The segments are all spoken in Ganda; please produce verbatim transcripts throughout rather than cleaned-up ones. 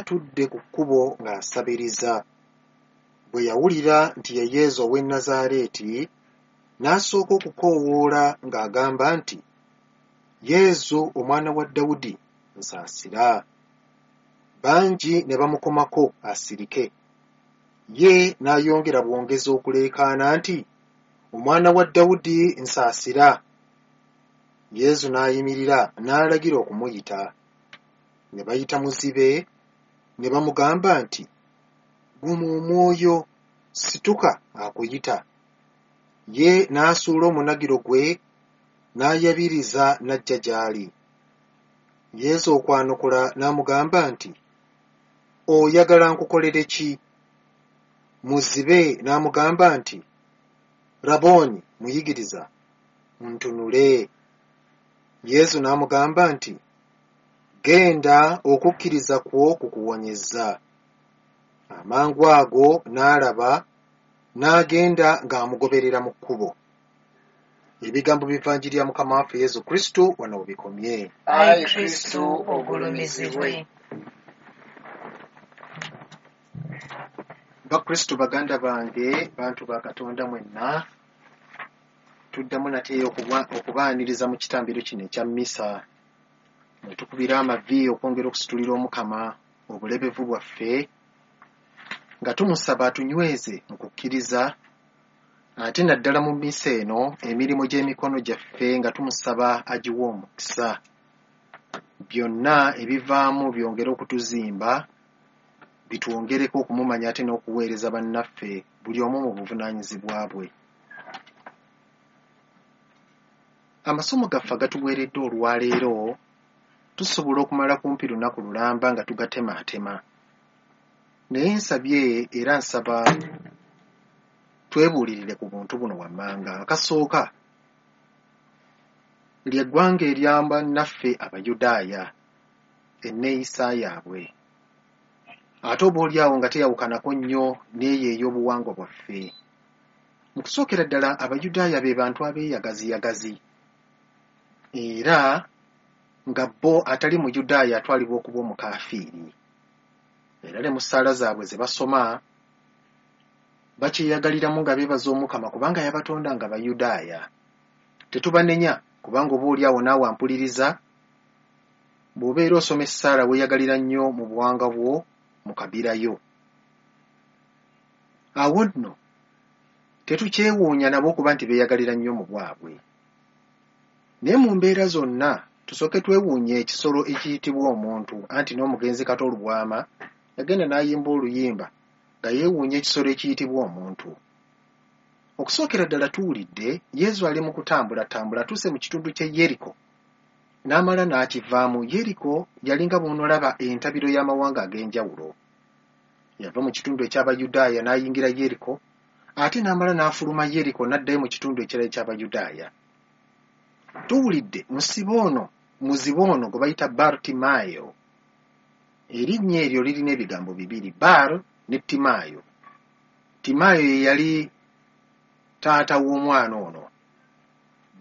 atudde ku kkubo ng'asabiriza. Bwe yawulira nti ye Yesu ow'e Nazaaleeti, n'asooka okukoowoola ng'agamba nti, Yesu omwana wa Dawudi, nsaasira. Bangi ne bamukomako asirike. Ye n'ayongera bwongezi okuleekaana nti, Omwana wa Dawudi, nsaasira. Yesu n'ayimirira n'alagira okumuyita. Ne bayita muzibe, ne bamugamba nti, Guma omwoyo, situka akuyita. Ye n'asuula omunagiro gwe, n'ayabiriza n'ajja gy'ali. Yesu okwanukula n'amugamba nti, Oyagala nkukolere ki? Muzibe n'amugamba nti, Rabooni, muyigiriza, ntunule. Yesu n'amugamba nti, Genda, okukkiriza kwo kukuwonyezza. Amangu ago n'alaba, n'agenda ng'amugoberera mu kkubo. Ebigambo by'Evanjiri ya Mukama waffe Yesu Kristo wano we bikomye. Ayi Kristo ogulumizibwe. Bakristo baganda bange, bantu ba Katonda mwenna, tuddamu nate okubaaniriza mu kitambiro kino ekya mmisa, mwe tukubira amavi okwongera okusitulira Omukama obulebevu bwaffe, nga tumusaba atunyweze mu kukkiriza, ate naddala mu mmisa eno emirimu gy'emikono gyaffe nga tumusaba agiwe omukisa. Byonna ebivaamu byongere okutuzimba, bitwongereko okumumanya ate n'okuweereza bannaffe buli omu mu buvunaanyizibwa bwe. Amasomo gaffe agatuweereddwa olwaleero tusobola okumala kumpi lunaku lulamba nga tugatemaatema. Naye nsabye era nsaba twebuulirire ku buntu buno wammanga. Akasooka ly'eggwanga erya bannaffe Abayudaaya, enneeyisa yaabwe. Ate oboolyawo nga teyawukanako nnyo n'eyo ey'obuwangwa bwaffe. Mu kusookera ddala Abayudaaya be bantu abeeyagaziyagazi, era nga bo atali Muyudaaya atwalibwa okuba omukaafiiri. Era ne mu ssaala zaabwe ze basoma bakyeyagaliramu nga beebaza Omukama kubanga yabatonda nga Bayudaaya. Tetubanenya kubanga oboolyawo naawe ampuliriza, bw'obeera osoma essaala weeyagalira nnyo mu buwangwa bwo mu kabira yo. Awo nno tetukyewuunya nabo okuba nti beeyagalira nnyo mu bwabwe. Naye mu mbeera zonna tusooke twewuunye ekisolo ekiyitibwa omuntu, anti n'omugenzi Kato Lubwama yagenda n'ayimba oluyimba nga yeewuunya ekisolo ekiyitibwa omuntu. Okusookera ddala tuwulidde Yesu ali mu kutambulatambula atuuse mu kitundu ky'e Yeriko n'amala n'akivaamu. Yeriko yalinga bw'onoolaba entabiro y'amawanga ag'enjawulo. Yava mu kitundu eky'Abayudaaya n'ayingira Yeriko, ate n'amala n'afuluma Yeriko n'addayo mu kitundu ekirala eky'Abayudaaya. Tuwulidde musibe ono, muzibe ono gwe bayita Bartimaayo. Erinnya eryo lirina ebigambo bibiri, Bar ne Timaayo. Timaayo ye yali taata w'omwana ono.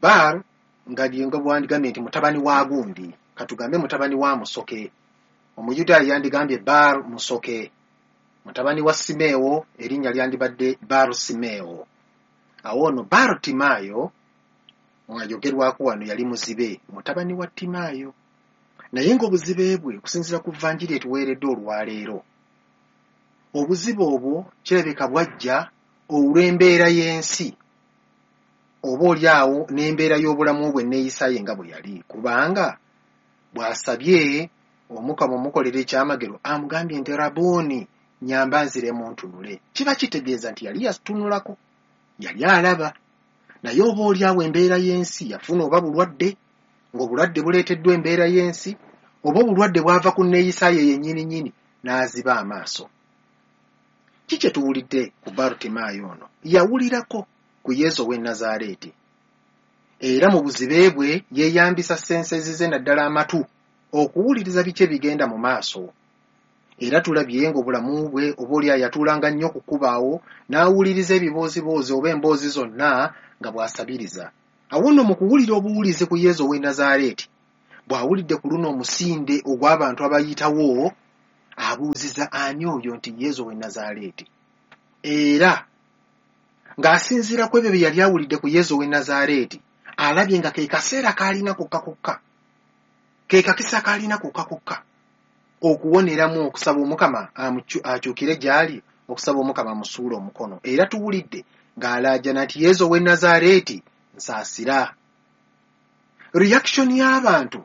Bar nga nga bwandigambye nti mutabani wa gundi, katugambe mutabani wa Musoke. Omuyudaaya yandigambye Bar Musoke. Mutabani wa Simeewo, erinnya lyandibadde Bar Simeewo. Awo ono Bar Timaayo ayogerwako wano yali muzibe, mutabani wa Timaayo. Naye ng'obuzibe bwe okusinziira ku Vanjiri etuweereddwa olwaleero, obuzibe obwo kirabika bwajja olw'embeera y'ensi, oba oli awo n'embeera y'obulamu bwe neeyisa ye nga bwe yali, kubanga bw'asabye Omukama omukolera ekyamagero amugambye nti Rabooni, nnyamba nziremu ntunule. Kiba kitegeeza nti yali yatunulako, yali alaba, naye oba oli awo embeera y'ensi yafuna oba bulwadde, ng'obulwadde buleeteddwa embeera y'ensi, oba obulwadde bwava ku neeyisa ye yennyini nnyini n'aziba amaaso. Ki kye tuwulidde ku Bartimaayo ono? Yawulirako ku Yesu ow'e Nazaaleeti, era mu buzibe bwe yeeyambisa sensezi ze naddala amatu okuwuliriza biki ebigenda mu maaso. Era tulabye ng'obulamu bwe oba oli yatuulanga nnyo ku kkubaawo n'awuliriza ebibooziboozi oba emboozi zonna nga bw'asabiriza. Awo nno mu kuwulira obuwulize ku Yesu ow'e Nazaaleeti, bw'awulidde ku luno omusinde ogw'abantu abayitawo, Abuuziza ani oyo nti Yezu ow'e Nazaaleeti. Era ng'asinziira ku ebyo bye yali awulidde ku Yezu ow'e Nazaaleeti, alabye nga ke kaseera k'alina kokka kokka, ke kakisa k'alina kokka kokka okuwoneramu okusaba Omukama akyukire gy'ali, okusaba Omukama amusuule omukono. Era tuwulidde ng'alaajana nti Yezu ow'e Nazaaleeti nsaasira. Reaction y'abantu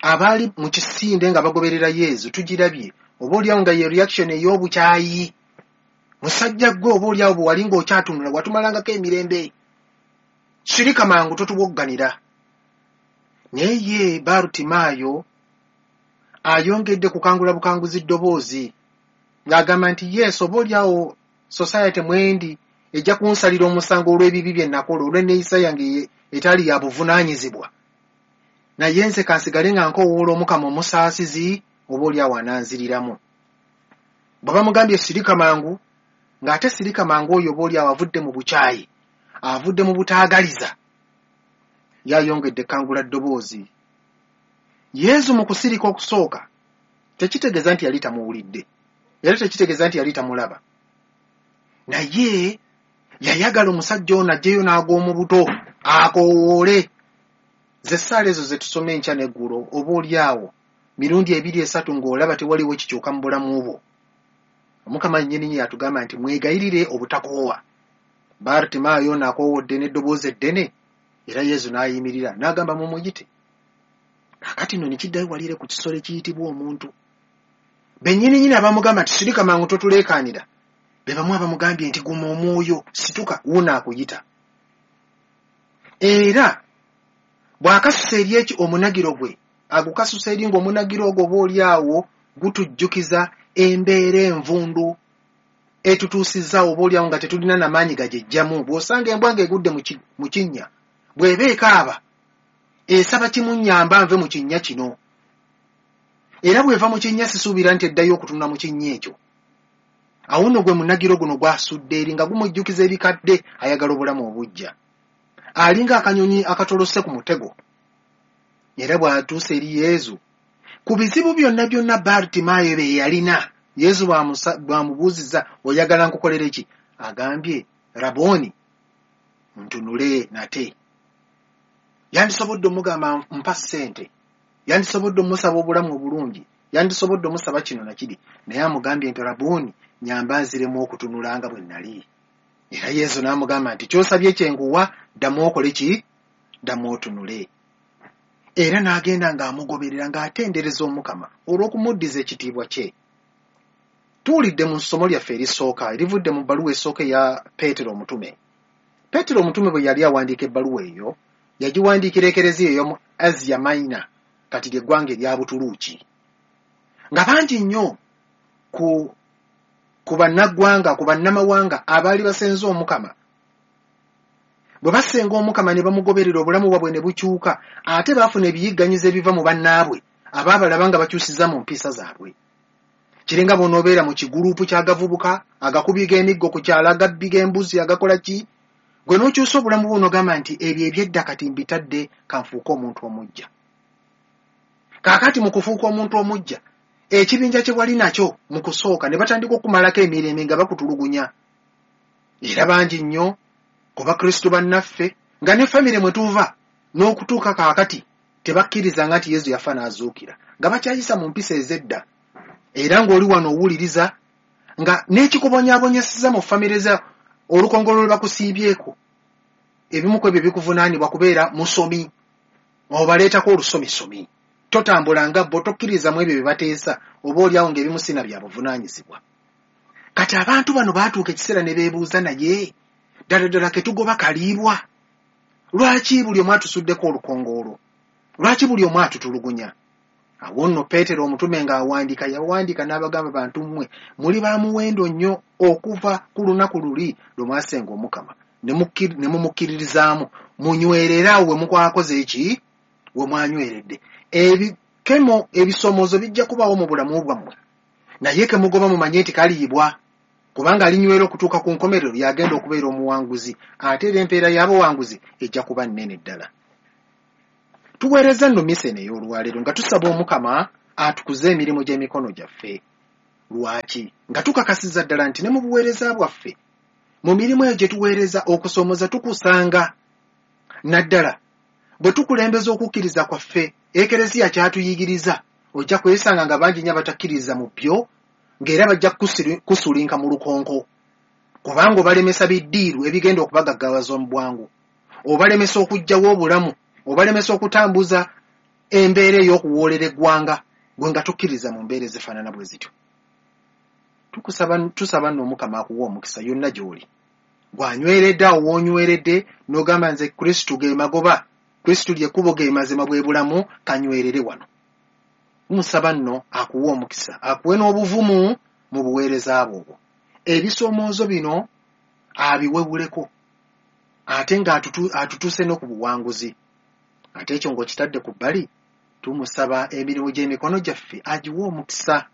abaali mu kisinde nga bagoberera Yezu tugirabye, oba oliawo nga ye reaction ey'obukyayi. Musajja ggwe oba oliawo bwe wali ng'okyatunula watumalangako emirembe, sirika mangu totuwogganira. Naye ye Barutimaayo ayongedde kukangula bukanguzi ddoboozi ng'agamba nti Yesu, oba oliawo society mwendi ejja kunsalira omusango olw'ebibi bye nakola, olw'enneeyisa yange etali ya buvunaanyizibwa, naye nze kansigale nga nkoowoola Omukama omusaasizi, oba oliawo ananziriramu. Bwe bamugambye sirika mangu, ng'ate sirika mangu oyo oba oliawo avudde mu bukyayi, avudde mu butaagaliza, yayongedde kangula ddoboozi. Yezu mu kusirika okusooka tekitegeeza nti yali tamuwulidde, era tekitegeeza nti yali tamulaba, naye yayagala omusajja ono ajjeyo n'ag'omu buto akoowoole. Ze ssaala ezo ze tusoma enkya n'eggulo, oba oliawo mirundi ebiri esatu ng'olaba tewaliwo kikyuka mu bulamu bwo. Omukama nnyini yatugamba nti mwegayirire obutakoowa. Barutimaayo ono akoowodde n'eddoboozi eddene, era Yezu n'ayimirira n'agamba mumuyite. Kaakati nno ne kiddayo walire ku kisolo ekiyitibwa omuntu. Bennyininyini abamugamba nti sirika mangu totuleekaanira, be bamu abamugambye nti guma omwoyo, situka, wuuno akuyita. Era bw'akasusa eri eki omunagiro gwe, agukasusa eri ng'omunagiro ogwo oba oli awo gutujjukiza embeera envundu etutuusizza oba oli awo nga tetulina na maanyi gagyeggyamu. Bw'osanga embwa ng'egudde mu kinnya, bw'eba ekaaba esaba kimunnyamba nve mu kinnya kino, era bw'eva mu kinnya sisuubira nti eddayo okutunula mu kinnya ekyo. Awo nno gwe munagiro guno gwasudde eri nga gumujjukiza ebikadde, ayagala obulamu obuggya, alinga akanyonyi akatolose ku mutego. Era bw'atuuse eri Yezu, ku bizibu byonna byonna Barutimaayo bye yalina, Yezu bw'amubuuzizza oyagala nkukolere ki, agambye Rabooni, ntunule nate. Yandisobodde omugamba mpa ssente, yandisobodde omusaba obulamu obulungi, yandisobodde omusaba kino na kiri, naye amugambye nti Rabooni, nyamba nziremu okutunula nga bwe nali. Era Yezu n'amugamba nti ky'osabye kye nkuwa, ddamu okole ki? Ddamu otunule. Era n'agenda ng'amugoberera ng'atendereza Omukama olw'okumuddiza ekitiibwa kye. Tuwulidde mu ssomo lyaffe erisooka erivudde mu bbaluwa esooka eya Peetero omutume. Peetero omutume bwe yali awandiika ebbaluwa eyo, yagiwandiikira ekereziya ey'omu Asia Minor, kati ly'eggwanga erya Butuluuki, nga bangi nnyo ku ku bannaggwanga, ku bannamawanga abaali basenze Omukama. Bwe basenga Omukama ne bamugoberera, obulamu bwabwe ne bukyuka, ate baafuna ebiyigganyizo ebiva mu bannaabwe abaabalaba nga bakyusiza mu mpisa zaabwe. Kiringa bw'onoobeera mu kigulupu ky'agavubuka agakubi g'emiggo ku kyalo, agabbi g'embuzi, agakola ki, gwe n'okyusa obulamu bwo n'ogamba nti ebyo eby'edda kati mbitadde, kanfuuke omuntu omuggya. Kaakati mu kufuuka omuntu omuggya, ekibinja kye wali nakyo mu kusooka ne batandika okumalako emirembe nga bakutulugunya. Era bangi nnyo ku Bakristo bannaffe nga ne famire mwe tuva n'okutuuka kaakati tebakkirizanga nti Yezu yafa n'azuukira, nga bakyayisa mu mpisa ez'edda. Era ng'oli wano owuliriza nga n'ekikubonyaabonyeseza mu famire za olukongolo lwe bakusiibyeko, ebimu ku ebyo bikuvunaanibwa kubeera musomi, obaleetako olusomisomi, totambula nga bo, tokkiriza mu ebyo bye bateesa, oba oliawo ng'ebimu sina bya buvunaanyizibwa. Kati abantu bano baatuuka ekiseera ne beebuuza, naye ddala ddala ke tugoba kaliibwa? Lwaki buli omu atusuddeko olukongoolo? Lwaki buli omu atutulugunya? Awo nno Peetero omutume ng'awandiika, yawandiika n'abagamba, bantu mmwe muli ba muwendo nnyo okuva ku lunaku luli lwe mwasenga Omukama ne mumukkiririzaamu, munywerere awo we mukwakoze eki? We mwanyweredde. Ebikemo, ebisomoozo bijja kubaawo mu bulamu bwammwe, naye ke mugoba mumanye nti kaliibwa, kubanga alinywera okutuuka ku nkomerero y'agenda okubeera omuwanguzi, ate era empeera y'abawanguzi ejja kuba nnene ddala. Tuweereza nno misa eno ey'olwaleero nga tusaba Omukama atukuze emirimu gy'emikono gyaffe, Lwaki? Nga tukakasiza ddala nti ne mu buweereza bwaffe, mu mirimu eyo gye tuweereza, okusoomooza tukusanga, naddala bwe tukulembeza okukkiriza kwaffe. Ekereziya kyatuyigiriza, ojja kwesanga nga bangi nnyo abatakkiriza mu byo, ng'era bajja kusulinka mu lukonko, kubanga obalemesa biddiiru ebigenda okubagaggawaza mu bwangu, obalemesa okuggyawo obulamu, obalemesa okutambuza embeera ey'okuwoolera eggwanga, gwe nga tukkiriza mu mbeera ezifaanana bwe zityo. Tukusaba, tusaba nno Omukama akuwa omukisa yonna gy'oli. Gw'anyweredde awo w'onyweredde n'ogamba nze Kristu ge magoba, Kristu ly'ekkubo, ge mazima, bwe bulamu, kanywerere wano. Musaba nno akuwa omukisa, akuwe n'obuvumu mu buweereza bwo obwo. Ebisoomoozo bino abiwewuleko, ate ng'atutuuse no ku buwanguzi. Ate ekyo ng'okitadde ku bbali, tumusaba emirimu gy'emikono gyaffe agiwe omukisa,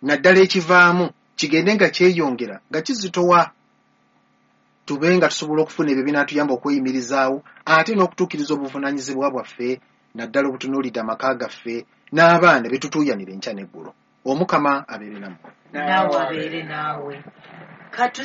naddala ekivaamu kigende nga kyeyongera nga kizitowa, tube nga tusobola okufuna ebyo binaatuyamba okweyimirizaawo ate n'okutuukiriza obuvunaanyizibwa bwaffe, naddala obutunuulidde amaka gaffe n'abaana be tutuuyanira enkya n'eggulo. Omukama abeere nammwe. Naawe abeere naawe. Katu